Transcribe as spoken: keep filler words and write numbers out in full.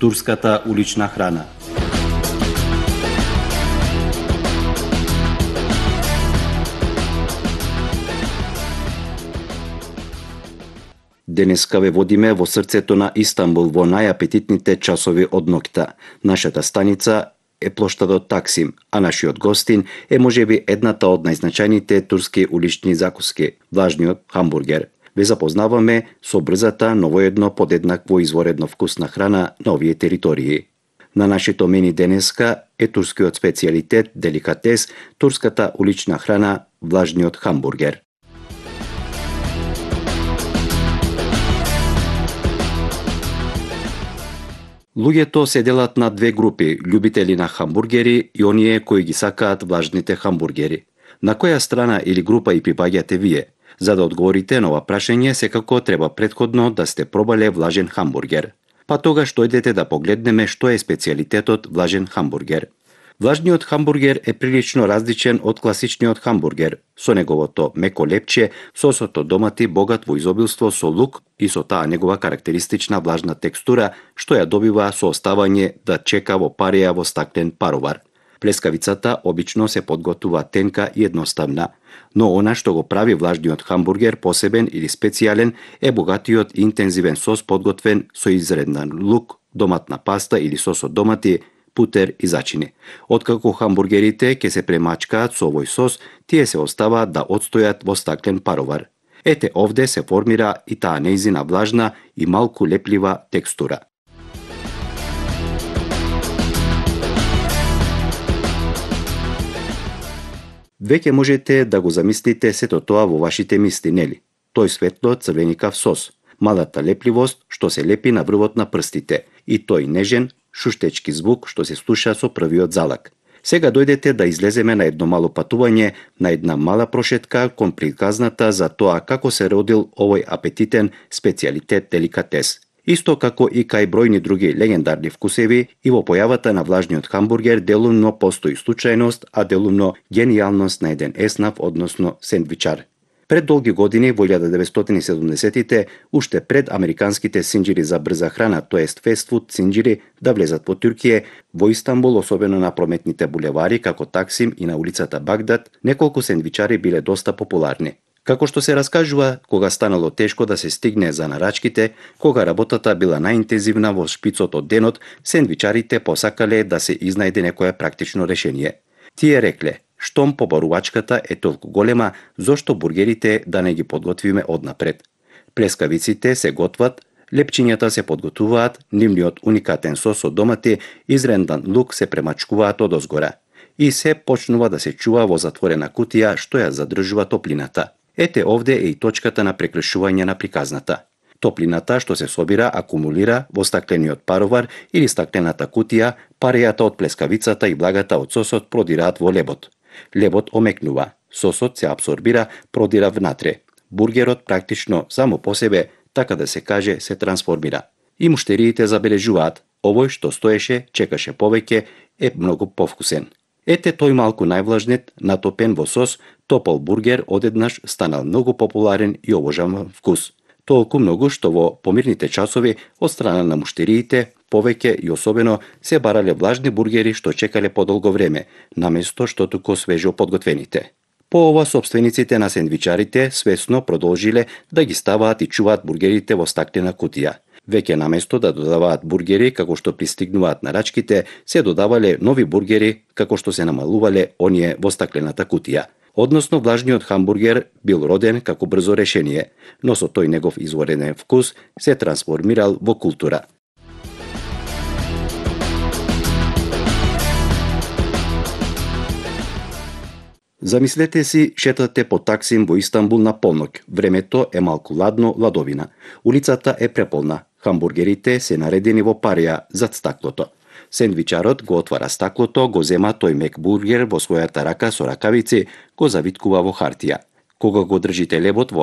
турската улична храна. Денеска ве водиме во срцето на Истанбул во најапетитните часови од ноќта. Нашата станица е плоштадот Таксим, а нашиот гостин е можеби едната од најзначајните турски улични закуски, влажниот хамбургер. Ве запознаваме со брзата, но воедно подеднакво изворедно вкусна храна на овие територии. На нашето мени денеска е турскиот специјалитет, деликатес, турската улична храна, влажниот хамбургер. Луѓето се делат на две групи, љубители на хамбургери и оние кои ги сакаат влажните хамбургери. На која страна или група и припаѓате вие? За да одговорите на ова прашање, секако треба претходно да сте пробале влажен хамбургер. Па тогаш дојдете да погледнеме што е специјалитетот влажен хамбургер. Влажниот хамбургер е прилично различен од класичниот хамбургер, со неговото меко лепче, сосото домати богат во изобилство со лук и со таа негова карактеристична влажна текстура, што ја добива со оставање да чека во парија во стаклен паровар. Плескавицата обично се подготвува тенка и едноставна, но она што го прави влажниот хамбургер посебен или специјален е богатиот и интензивен сос подготвен со изреднан лук, доматна паста или сос од домати, путер и зачини. Откако хамбургерите ќе се премачкаат со овој сос, тие се оставаат да одстојат во стаклен паровар. Ете овде се формира и таа нејзина влажна и малку леплива текстура. Веќе можете да го замислите сето тоа во вашите мисли, нели? Тој светло црвеникав сос, малата лепливост што се лепи на врвот на прстите и тој нежен, шуштечки звук што се слуша со првиот залак. Сега дојдете да излеземе на едно мало патување, на една мала прошетка кон приказната за тоа како се родил овој апетитен специјалитет деликатес. Исто како и кај бројни други легендарни вкусеви, и во појавата на влажниот хамбургер делумно постои случајност, а делумно генијалност на еден еснав, односно сендвичар. Пред долги години, во илјада деветстотини и седумдесетите, уште пред американските синџири за брза храна, тоест фестфуд синџири, да влезат во Туркија, во Истанбул, особено на прометните булевари како Таксим и на улицата Багдад, неколку сендвичари биле доста популарни. Како што се раскажува, кога станало тешко да се стигне за нарачките, кога работата била најинтензивна во шпицот од денот, сендвичарите посакале да се изнајде некое практично решение. Тие рекле: штом побарувачката е толку голема, зошто бургерите да не ги подготвиме однапред? Плескавиците се готват, лепчињата се подготвуваат, нивниот уникатен сос од домати, изрендан лук се премачкуваат одозгора. И се почнува да се чува во затворена кутија што ја задржува топлината. Ете овде е и точката на прекршување на приказната. Топлината што се собира акумулира во стаклениот паровар или стаклената кутија, парејата од плескавицата и влагата од сосот продираат во лебот. Лебот омекнува, сосот се абсорбира, продира внатре. Бургерот практично само по себе, така да се каже, се трансформира. И муштериите забележуваат, овој што стоеше, чекаше повеќе, е многу повкусен. Ете тој малку највлажнет, натопен во сос, топол бургер одеднаш станал многу популарен и обожаван вкус. Толку многу што во помирните часови од страна на муштериите повеќе и особено се барале влажни бургери што чекале подолго време, наместо што туку свежо подготвените. По ова собствениците на сендвичарите свесно продолжиле да ги ставаат и чуваат бургерите во стаклена кутија. Веќе наместо да додаваат бургери како што пристигнуваат нарачките, се додавале нови бургери како што се намалувале оние во стаклената кутија. Односно, влажниот хамбургер бил роден како брзо решение, но со тој негов извореден вкус се трансформирал во култура. Замислете си, шетате по Таксим во Истанбул на полноќ. Времето е малку ладно, ладовина. Улицата е преполна. Хамбургерите се наредени во парија зад стаклото. Сендвичарот го отвара стаклото, го зема тој мек бургер во својата рака со ракавици, го завиткува во хартија. Кога го држите лебот во